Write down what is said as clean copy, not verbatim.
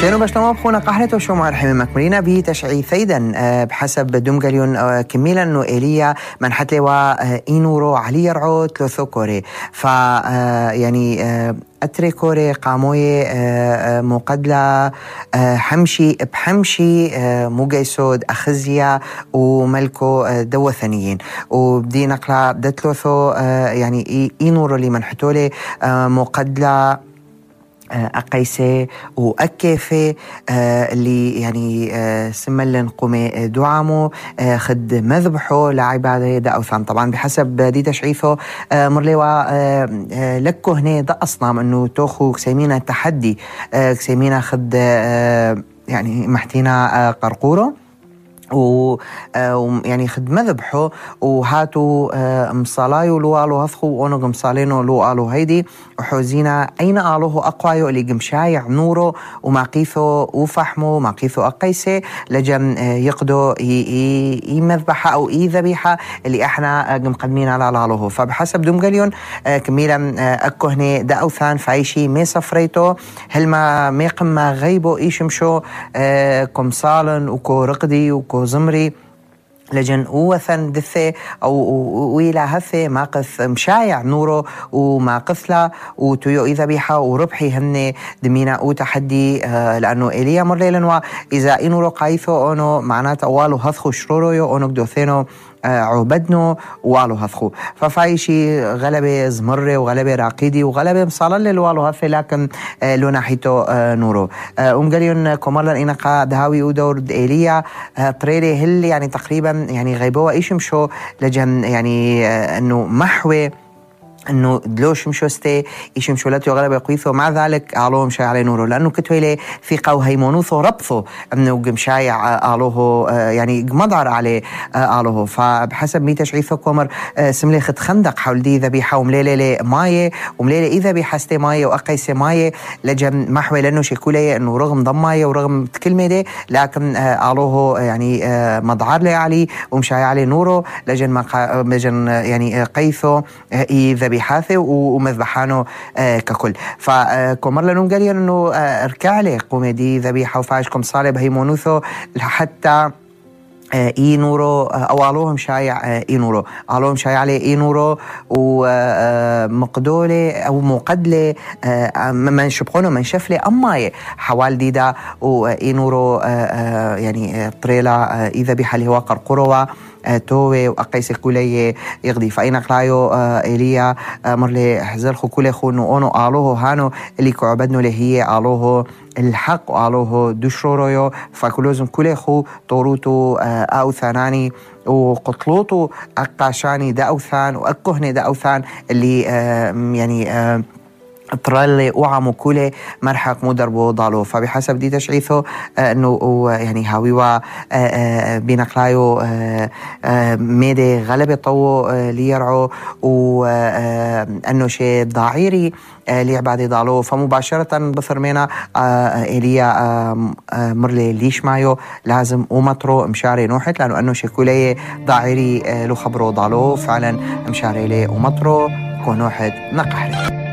شنو بشتما بخونا قحلته شو مع الحمي مكملين بتشعي ثيدا بحسب دومغاليون كميلا انه ايليا من حتى اينورو علي يرعو ثلاثو كوري ف يعني اتري كوري قاموي مقدلة حمشي بحمشي موجي سود اخزيا وملكو دو ثانيين وبدي نقلا دتلوثو يعني اينورو اللي من حتولي مقدلة أقيسة وأكيفة اللي يعني سملن قومي دعامو خد مذبحو لعبادة دا أوثان. طبعا بحسب دي تشعيثو مرليوا لكو هنا دا أصنام أنه توخو كسيمينا تحدي كسيمينا خد يعني محتينا قرقورو ويعني خد مذبحو وهاتوا مصالايو لو آلو هثخو وانو مصالينو لو آلو هيدي وحوزينا أين آلوه أقوايو اللي قمشايع نورو وماقيثو وفحمو ماقيثو أقيسي لجن يقدو مذبحة أو ذبيحة اللي احنا مقدمين على آلوه. فبحسب دومغاليون كميلا أكو هني دا أوثان فايشي مي صفريتو هل ما ميقم ما غيبو إيشمشو كم صالن وكو رقدي وكو زمري لجن وثن دثي أو ويلا هثي ماقث مشايع نورو وماقثلا وتيو إذا بيحا وربحي هني دمينا وتحدي لأنه إليا مرليلن إذا إنورو قايثو أونو معنات أوالو هثخو شرورويو أونو قدوثينو عبدنو والو هثخو ففايشي غلبة زمرة وغلبة راقيدي وغلبة مصالل والو هثي لكن لو ناحيتو نورو قاليون كمالا إنقا دهاوي ودور إيليا طريري هل يعني تقريبا يعني غيبوا إيشمشو لجن يعني أنه محوي انه دلوش مشوستي يشمشو لاتو غلبة قويثو مع ذلك آلوه مشاي عليه نورو لانه كتويلي في قو هيمونوثو ربثو انه قمشايع آلوه يعني قمضعر عليه آلوه. فبحسب ميتا شعيثو كومر سملي خد خندق حول دي ذبيحة ومليلي مايه ومليلي إذا بيحستي مايه وأقيسي مايه لجن محوي لانه شكولي انه رغم ضم مايه ورغم كلمة دي لكن آلوه يعني مضعر لي عليه ومشاي عليه نورو لجن يعني قيثو ذبيحة بحاثه ومذبحانه ككل. فكمر لنون قال انه اركع لي قوميدي ذبيحه وفاشكم صالب هيمونوثو حتى إينورو أو آلوهم شايع إينورو آلوهم شايع عليه إينورو ومقدولة أو مقدلة من شبخونه من شفلة أماي حوال ديدا وإينورو يعني طريلة إذا بحالي هو قرقروة توي وأقيس كولي يغدي فإن قلايو إليا مرلي حزر خو كولي خو نو آلوه هانو اللي كعبدنو لهي آلوه الحق وآلوه دشرورويو فكلوزم كولي خو طوروتو أوثاناني وقطلوتو أقاشاني دا أوثان وأكهني دا أوثان اللي يعني طرالي وعمو كولي مرحق مدربو ضالو. فبحسب دي تشعيثو انه يعني هاويوا بنقلايو ميدي غلبة طوو ليرعو وانه شي ضعيري ليعبادي ضالو. فمباشرة بثرمينا إليا مرلي ليش مايو لازم ومطرو مشاري نوحت لانه انه شي كولي ضعيري لو خبرو ضالو فعلا مشاري لي ومطرو كونوحت نقحري.